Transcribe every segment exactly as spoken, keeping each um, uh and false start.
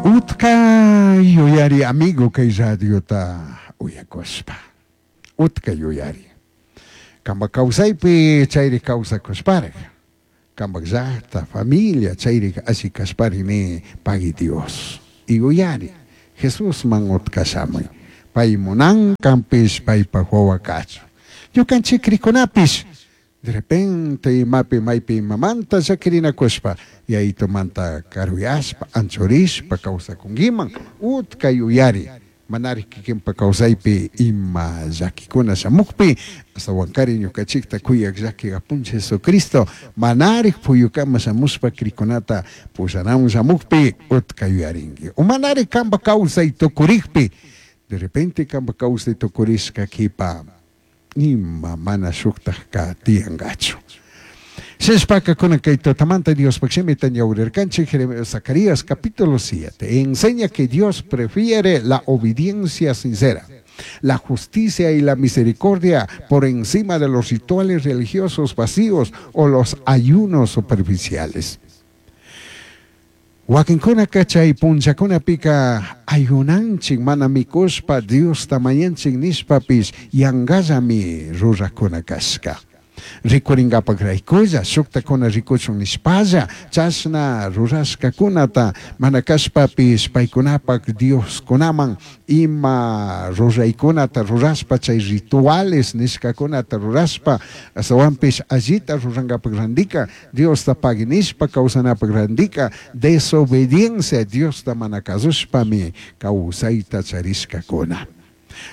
Utka yuyari amigo kay radiota uyakuspa. Utka yuyari. Kamba kawsaypi chayri kawsakushparik. Kamba llaqta, familia chayri alli kashpari ni pagui Dios. Y yuyari Jesusman utka shamuy. Pay munan kanpish paypaj wawa kachun. Ñukanchik krikunapish de repente imapi maypi imamanta llakirinakushpa yayitumanta karuyashpa anchurishpa kawsakunkiman utka yuyari manari kikinpa kawsaypi ima llakikuna shamukpi astawankari ñukanchikta kuyak llaki apunchik Jesucristo manarik puyukama shamushpa krikunata pushanamun shamukpi utka yuyarinki o manari kanpa kawsay tukurikpi de repente kanpa kawsay tukurishka kipa ima mana shuktajka tiyankachu. Shishpaka kunan kay tutamanta Diospaj shimita ñawrirkanchik Zacarías capítulo siete. Enseña que Dios prefiere la obediencia sincera, la justicia y la misericordia por encima de los rituales religiosos vacíos o los ayunos superficiales. Wakinkunaka chay punllakunapika ayunanchik mana mikushpa Diosta mañanchik nishpapish yankallami rurakuna kashka. Rikurinkapak raykulla shuktakuna rikuchun nishpalla chashna rurashkakunata mana kashpapish paykunapak Dioskunaman ima ruraykunata rurashpa chay rituales nishkakunata rurashpa astawanpish allita rurankapak randika Diosta pagui nishpa kawsanapak randika desobediencia Diosta mana kasushpami kawsayta charishkakuna.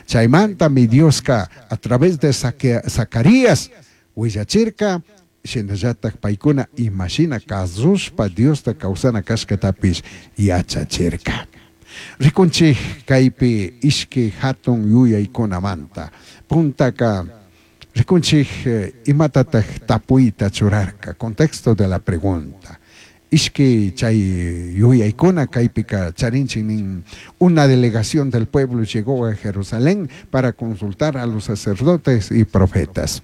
Chaymantami Dioska a través de Zacarías willachirka shinallatak paykuna imashina kasushpa Diosta kawsana kashkatapish yachachirka. Rikunchik kaypi ishki hatun yuyaykunamanta. Puntaka rikunchik imatatak tapuyta churarka. Contexto de la pregunta. Ishki chay yuyaykuna kaypika charinchik nin una delegación del pueblo llegó a Jerusalén para consultar a los sacerdotes y profetas.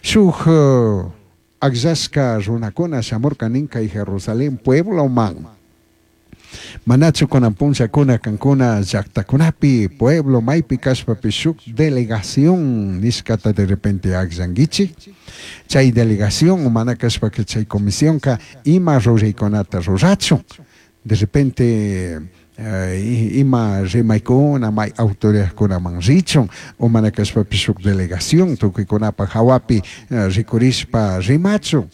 Shuk uh, akllashka runakuna shamurka nin kay Jerusalén puebloman. Manachu kunan punllakuna kankuna llaqtakunapi pueblo maypi kashpapish shuk delegación nishkata de repente akllankichik. Chay delegación mana kashpaka chay comisionka ima ruraykunata rurachun. De repente eh, ima rimaykuna may autoridadkunaman richun o mana kashpapish shuk delegación tukuykunapaj hawapi eh, rikurishpa rimachun.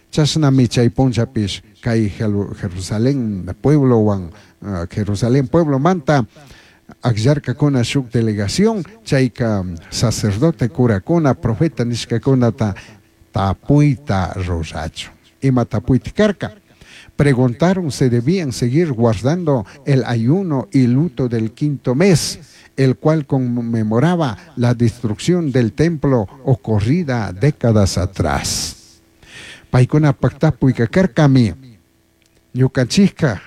Chashnami chay punllapish kay Jerusalén pueblowan uh, Jerusalén pueblomanta akllarkakuna shuk delegación chayka sacerdote curakuna profeta nishkakunata tapuyta rurachun. Ima tapuyta karka. Preguntaron si debían seguir guardando el ayuno y luto del quinto mes, el cual conmemoraba la destrucción del templo ocurrida décadas atrás. Paykunapak tapuyka karkami ñukanchikka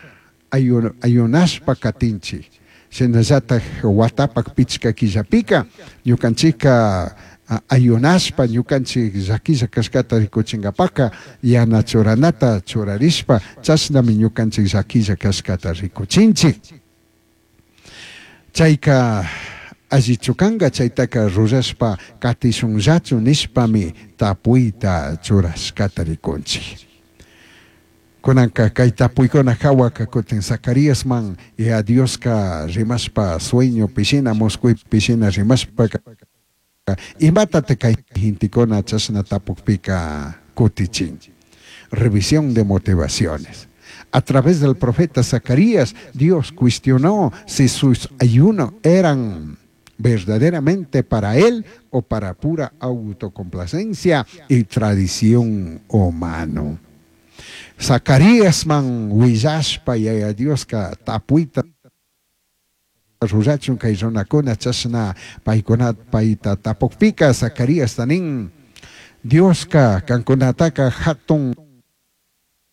ayunashpa katinchik. Shinallatak watapak pichka killapika ñukanchikka ayunashpa ñukanchik llakilla kashkata rikuchinkapaka yana churanata churarishpa chashnami ñukanchik llakilla kashkata rikuchinchik. Chayka allichu kanka chaytaka rurashpa katishunllachu nishpami tapuyta churashkata rikunchik. Kunanka kay tapuykuna hawaka kutin Zacaríasman y a Dioska rimashpa sueño pishina musquypi rimashpaka imatate kay gentekuna chashna tapukpika kutichin. Revisión de motivaciones. A través del profeta Zacarías, Dios cuestionó si sus ayunos eran verdaderamente para él o para pura autocomplacencia y tradición humano. Zacarías man willashpa yaya Dioska tapuyta rurachun kay runakuna chashna paykuna payta tapukpika Zacarías nin Dioska kankunataka hatun